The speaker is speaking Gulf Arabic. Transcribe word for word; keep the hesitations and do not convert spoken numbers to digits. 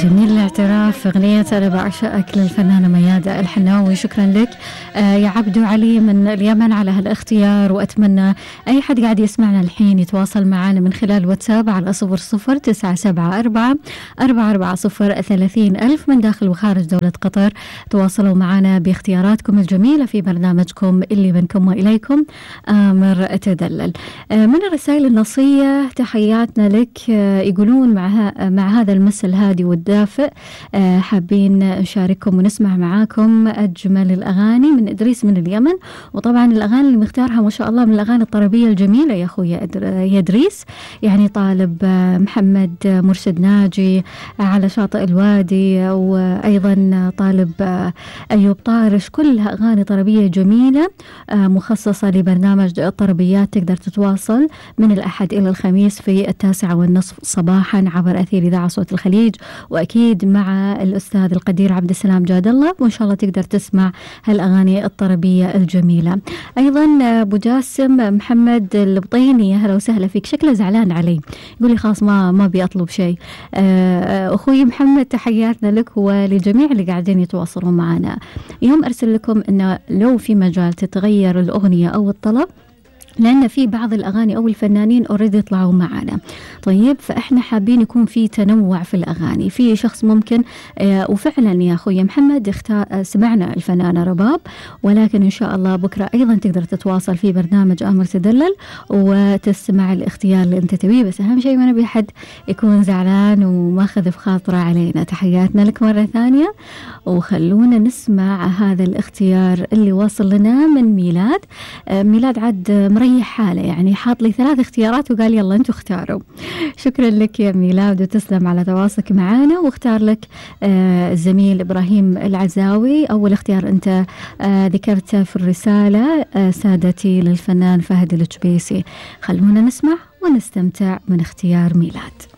جميل الاعتراف، أغنية أنا بعشقك للفنانة ميادة الحناوي. شكرا لك آه يا عبدو علي من اليمن على هالاختيار، وأتمنى أي حد قاعد يسمعنا الحين يتواصل معنا من خلال واتساب على صفر صفر تسعة سبعة أربعة أربعة أربعة صفر ثلاثين ألف من داخل وخارج دولة قطر. تواصلوا معنا باختياراتكم الجميلة في برنامجكم اللي منكم وإليكم آمر تدلل. آه من الرسائل النصية تحياتنا لك، آه يقولون مع, مع هذا المس الهادي والدافئ آه حابين نشارككم ونسمع معاكم أجمل الأغاني من إدريس من اليمن. وطبعا الأغاني اللي مختارها ما شاء الله من الأغاني الطربية الجميلة يا أخوي يا إدريس، يعني طالب آه محمد مرشد ناجي آه على شاطئ الوادي، وأيضا طالب آه أيوب طارش، كلها أغاني طربية جميلة آه مخصصة لبرنامج الطربيات. تقدر تتواصل من الأحد إلى الخميس في التاسعة والنصف صباحا عبر أثير إذاعة صوت الخليج، وأكيد مع الأستاذ القدير عبد السلام جاد الله، وإن شاء الله تقدر تسمع هالأغاني الطربية الجميلة. أيضا أبو جاسم محمد البطيني، أهلا وسهلا فيك، شكله زعلان علي يقول لي خلاص ما ما بيطلب شيء. أخوي محمد تحياتنا لك ولجميع اللي قاعدين يتواصلون معنا. يوم أرسل لكم إنه لو في مجال تتغير الأغنية أو الطلب، لأن في بعض الأغاني أو الفنانين أوريدي يطلعوا معنا، طيب فإحنا حابين يكون في تنوع في الأغاني. في شخص ممكن آه وفعلا يا أخوي محمد اختار آه سمعنا الفنانة رباب، ولكن إن شاء الله بكرة أيضا تقدر تتواصل في برنامج آمر تدلل وتسمع الاختيار اللي أنت تبيه، بس أهم شيء ما نبي حد يكون زعلان وما خذ في خاطره علينا. تحياتنا لك مرة ثانية، وخلونا نسمع هذا الاختيار اللي وصل لنا من ميلاد. آه ميلاد عد مريح حاله، يعني حاط لي ثلاث اختيارات وقال يلا انتوا اختاروا. شكرا لك يا ميلاد وتسلم على تواصلك معنا. واختار لك آه الزميل إبراهيم العزاوي، أول اختيار أنت آه ذكرته في الرسالة آه سادتي للفنان فهد الجبيسي. خلونا نسمع ونستمتع من اختيار ميلاد.